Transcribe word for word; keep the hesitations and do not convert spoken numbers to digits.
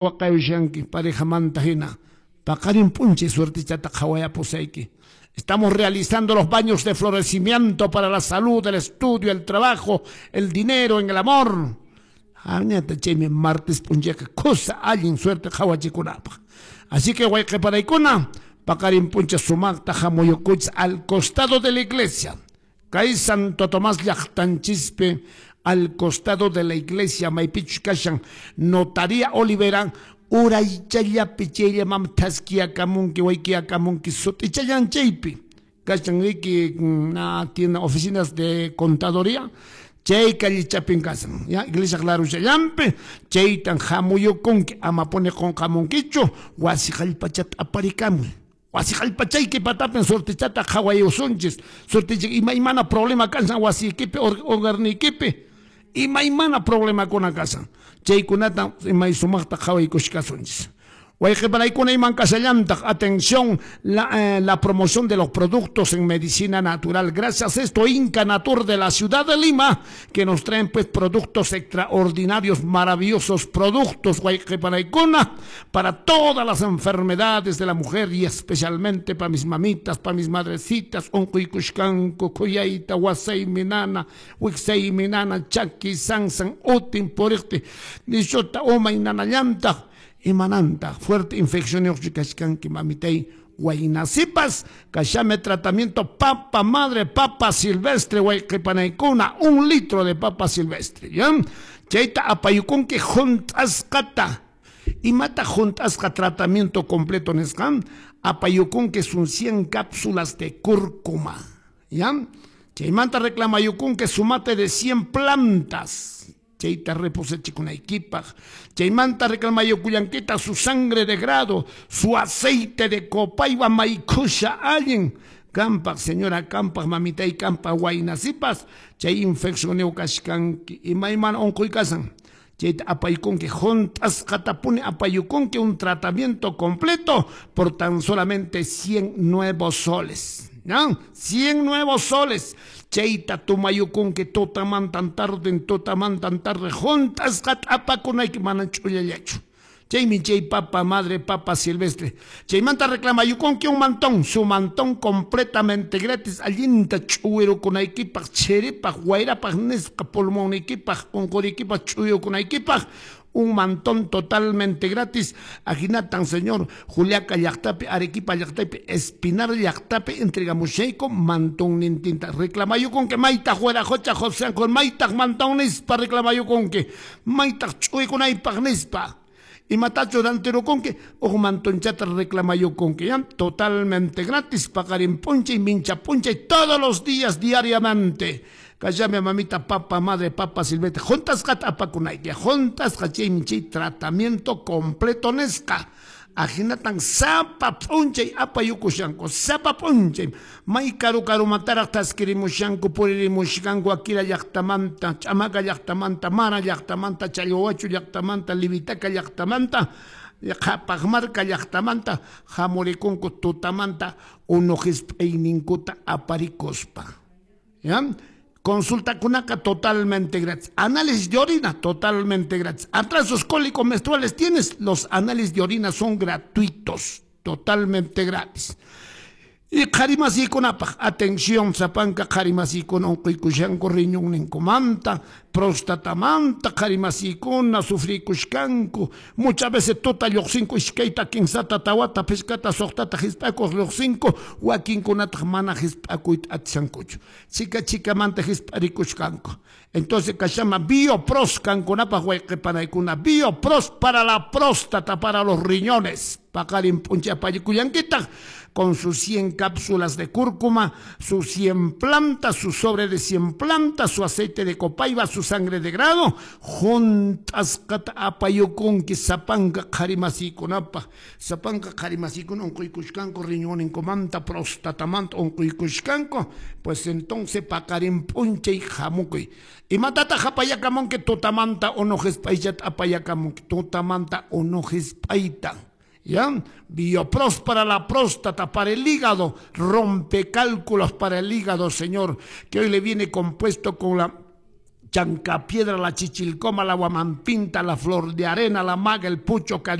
Waqayushanki parejamanta hina paqarin p'unchay suertichata qhawayapusayki. Estamos realizando los baños de florecimiento para la salud, el estudio, el trabajo, el dinero, en el amor. Añata chaymi martes p'unchayqa kusa allin suerte qhawachikunapaq. Así que wayqiparaykuna paqarin p'unchay sumaqta hamuyukuychis al costado de la iglesia. Kay Santo Tomás llaqtanchispi al costado de la iglesia maypichus kashan Notaría Olivera uraychallapi chayllaman thaskiyakamunki waykiyakamunki sut'ichallan chaypi kashan riki na tiene oficinas de contaduría chay callichapin kashan ya iglesia claruchallanpi chaytan hamuyukunki amapuni qunqamunkichu wasi qallpachata aparikamuy. Wasi qallpachayki patapin sortichata qhawayusunchis sortichik imaymana problema kashan wasiykipi hogarniykipi imaymana problemakuna kashan chaykunata imay sumaqta qhawaykushkasunchis. Wayqiparaykuna iman kasallantaq, atención, la, eh, la promoción de los productos en medicina natural. Gracias a esto, Inca Natur de la ciudad de Lima, que nos traen pues productos extraordinarios, maravillosos productos, wayqiparaykuna, para todas las enfermedades de la mujer y especialmente para mis mamitas, para mis madrecitas, unquykushkanku, khuyayta, wasaymi nana, wiksaymi nana, chaki, sansan, utin, puriqti, nishuta, umay nanallantaq. Imananta, fuerte infección kashkanki mamitay waynasipas, kashame tratamiento papa madre, papa silvestre, wayqipanaykuna, un litro de papa silvestre, ¿ya? Chayta apayukunki juntasqata. Imata juntasqa tratamiento completo nisqan, apayukunki son cien cápsulas de cúrcuma, ¿ya? Chaymanta reclamayukunki sumate de cien plantas. Chayta reposechikunaykipak, chaymanta reclamayukullankita su sangre de grado, su aceite de copaiba maykusha allin, kampak señora kampak mamitay kampak waynasipas, chay infección kashkanki imaymana unquy kasan, chayta apaykunki juntasqatapuni apayukunki un tratamiento completo por tan solamente cien nuevos soles. ¿No? cien nuevos soles. Chayta tumayukunki tutamantan tarde, tutamantan tarde, juntasqata apakunayki mana ch'ullallachu. Chaymi chay papa madre, papa silvestre. Chaymanta reclamayukunki un mantón, su mantón completamente gratis, allinta ch'uwirukunaykipaq, chiripaq, wayrapaq nisqa pulmonniykipaq, unquriykipaq, ch'uyukunaykipaq. Un mantón totalmente gratis. Ajinatan, señor, Juliaca llaqtapi, Arequipa llaqtapi, Espinar llaqtapi, entregamushayku mantón nintinta. Reclamayukunki maytaq wiraqucha José con maytaq mantón nispa reclamayukunki, maytaq ch'uykunaypaq nispa. Imatachu rantirukunki, uj mantonchata reclamayukunki, ¿ya? Totalmente gratis, paqarin p'unchay, mincha p'unchay, todos los días, diariamente. Kallame mamita, papa, madre, papa, silvestre, juntasqata apakunayki, juntasqa chaymi chay tratamiento completo nisqa. Ajinatan sapa p'unchay apayukushanku, sapa p'unchay. May karu karumantaraq taskirimushanku, puririmushkanku, Akira llaqtamanta, Ch'amaca llaqtamanta, Mara llaqtamanta, Challwachu llaqtamanta, Livitaca llaqtamanta, Qhapaqmarka llaqtamanta, hamurikunku tutamanta unu hisp'ayninkuta aparikuspa. ¿Ya? Consulta kunaka totalmente gratis. Análisis de orina totalmente gratis. Atrasos cólicos menstruales tienes, los análisis de orina son gratuitos, totalmente gratis. Y qharimasikunapaq, atención, sapanka qharimasikuna unquykushanku riñonninkumanta, prostatamanta, qharimasikuna sufrikushkanku, muchas veces tuta lluqsinku iskayta, kinsata, tawata, phishkata, suqtata hisp'akuq lluqsinku, wakinkunataq mana hisp'akuyta atishankuchu. Chika chikamanta hisp'arikushkanku. Entonces kashama biopros kankunapaq wayqipanaykuna, biopros para la próstata, para los riñones. Paqarin p'unchay apayukullankitaq con sus cien cápsulas de cúrcuma, sus cien plantas, su sobre de cien plantas, su aceite de copaiba, su sangre de grado, juntasqata apayukunki sapanka qharimasikunapaq, sapanka qharimasikuna unquykushkanku riñonninkumanta, prostatamanta unquykushkanku, pues entonces paqarin p'unchay hamukuy. Imatataq apayakamunki tutamanta unu hisp'ayllata apayakamunki, tutamanta unu hisp'ayta. ¿Ya? Biopros para la próstata, para el hígado, rompe cálculos para el hígado, señor, que hoy le viene compuesto con la Chancapiedra, la Chichilcoma, la Huamampinta, la Flor de Arena, la Maga, el Pucho,